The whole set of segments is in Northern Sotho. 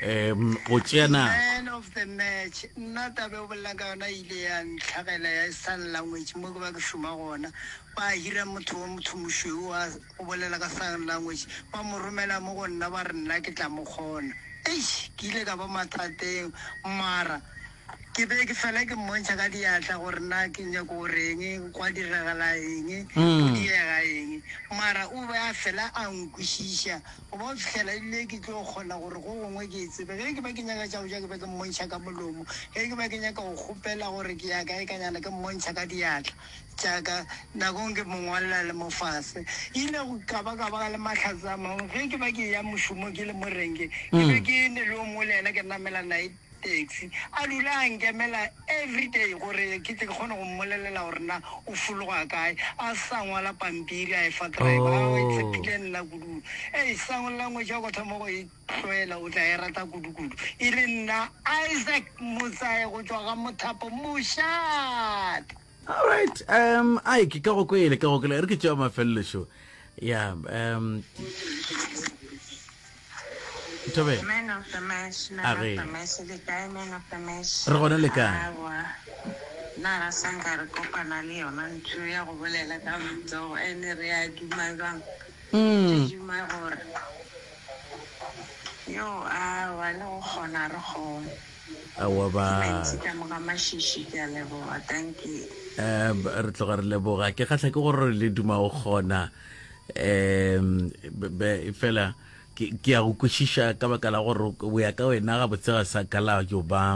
Um go tšea nako. Man of the match, nna taba e o bolelang ka yona e ile ya ntlhagela ya sign language mo ke ba ke šoma gona. Ba hira motho wa motho mošweu wa go bolela ka sign language, ba mo romela mo go nna ba re nna ke tla mo kgona. Eish, ke ile ka ba mathateng mara ke be ke fela ke mmontšha ka diatla gore na ke nyako go reng, gwa diragala eng, go diega eng. Mara o be a fela a nkwešiša go ba go fihlela ebile ke tlo kgona gore go gongwe ke e tsebe. Ge ke be ke nyaka tša go ja ke be ke mmontšha ka molomo, ge ke be ke nyaka go kgopela gore ke ya kae ka nyana ke mmontšha ka diatla tša ka, nakong ke mo ngwalela le mo fase. Ile go ka ba ka ba le mahlatse a mangwe ge ke ba ke eya mošomong ke le mo renkeng, ke be ke ne le yo mongwe le yena ke namela naye taxi, a dula a nkemela everyday gore ke tle ke kgone go mmolelela gore na o fologa kae, a sa ngwala pampiri a e fa driver, a o e tshepile nna kudu. Ei, sign language ya go thoma go e tlwaela o tla e rata kudu-kudu. E le nna Isaac Motsae go tšwa ga Mothapo Mošate. Alright, um ai ke ka go kwele, ka go kwele. Re ke tšea mafelelo šo. Ya, um Thobela. Man of the match, man A of re. the match, le kae man of the match? Re gona le kae? Aowa, nna ga sa nka re kopana le yona ntho ya go bolela ka matsogo ene re a duma bjang? Re duma gore yo aowa le go kgona re kgone. Aowa Ke ba. Nancy ka mo ga Mashishi ke a leboga dankie. Um re tloga re leboga ke kgahla ke gore le duma go kgona um fela ke ke a go kwešiša ka baka la gore o ya ka wena gabotse ga sa ka la yo ba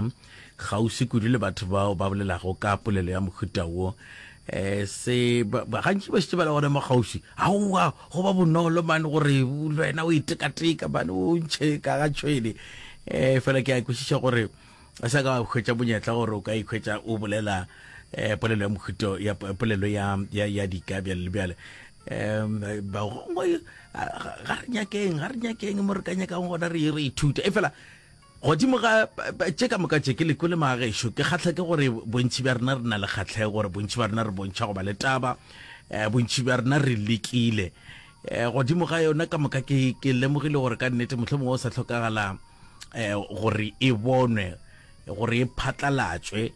kgauswi kudu le batho bao ba bolelago ka polelo ya mohuta wo um se gantši ba šetše ba le gona mo kgauswi aowa go ba bonolo mane gore le wena o itekateka mane o ntšhe ka ga tšhwene um fela ke a kwešiša gore a sa ka hwetša monyetla gore o ka ikhwetša o bolela um polelo ya mohuto ya polelo ya ya ya dika bjale le bjale um bagongwe ga re nyakeng ga re nyakeng mo re ka nyakang gona re re ithute e fela godimo ga tše ka moka tše ke le kwele magagešo ke kgatlha ke gore bontši bja rena re na le kgatlhego gore bontši bja rena re bontšha go ba le taba um bontši bja rena re lekile um godimo ga yona ka moka ke ke lemogile gore ka nnete mohlomongwe o sa hlokagala um gore e bonwe gore e phatlalatšwe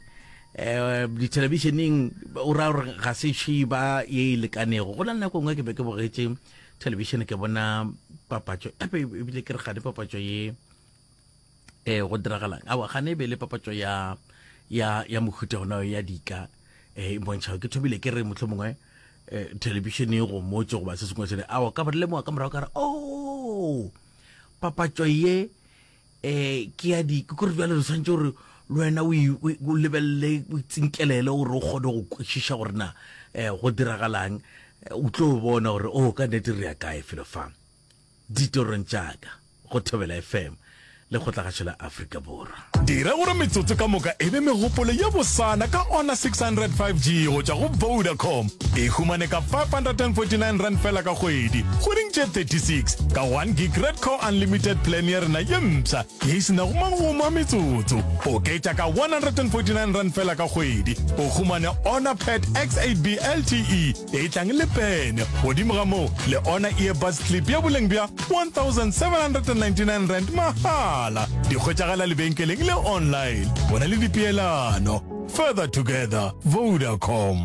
um dithelebišeneng o ra gore ga se šiba ye e lekanego go na le nako nngwe ke be ke bogetše thelebišene ke bona papatšo epe ebile ke re gane papatšo ye um go diragalang aowa gane e be le papatšo ya ya ya mohuta ona ya dika um e bontšhago ke thomile ke re mohlomongwe mongwe um thelebišene e gomotše goba se sengwe sele aowa ka ba lemoga ka morago ka re o oh, papatšo ye um ke ya di ke kore bjale re tshwanetse gore le wena o lebelele o itsinkelele gore o kgone go kwešiša gore na um go diragalang o tlo bona gore o oh, ka nnete re ya kae felo fa ditorong tša ka go Thobela FM Lekgotlagašo la Afrika Borwa. Dira gore metsotso ka moka e be megopolo ye bosana ka Honor 600 5G go tšwa go Vodacom. E humane ka R549 fela ka kgwedi, kgweding tše 36, ka 1 gig Red Core Unlimited plan ya rena ye mpsha ye e se nago magomo a metsotso. Oketša ka R149 fela ka kgwedi, o humane Honor Pad X8B LTE e tlang le pene. Godimo ga moo, le Honor Earbuds Clip ya boleng bja R1799 mahala. Di hwetšagala lebenkeleng le online. Bona le dipeelano. Further together, Vodacom.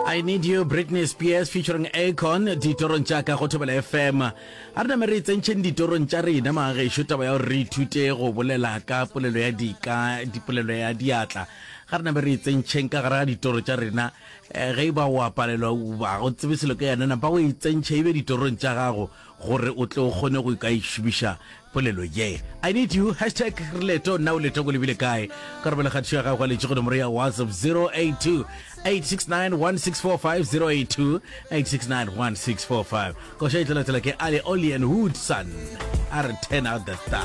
I Need You, Britney Spears featuring Akon, ditorong tša ka go Thobela FM. A re name re tsentšheng ditorong tša rena magešo taba ya gore re ithute go bolela ka polelo ya dika, dipolelo ya diatla. Ga re name re tsentšheng ka gare ga ditoro tša rena. Eh, ge e ba o a palelwa ga o tsebe selo ka yona, napa o e tsentšhe e be ditorong tša gago gore o tle o kgone go ka e šomiša polelo ye. I need you, hashtag re leto, nna o leto ko lebile kae? Ka romela kgatišo ya gago ya lentšu go nomoro ya WhatsApp 082 869 1645 082 869 1645. Koša e tla latela ke Ali Oli and Hoodson a re turn out the star.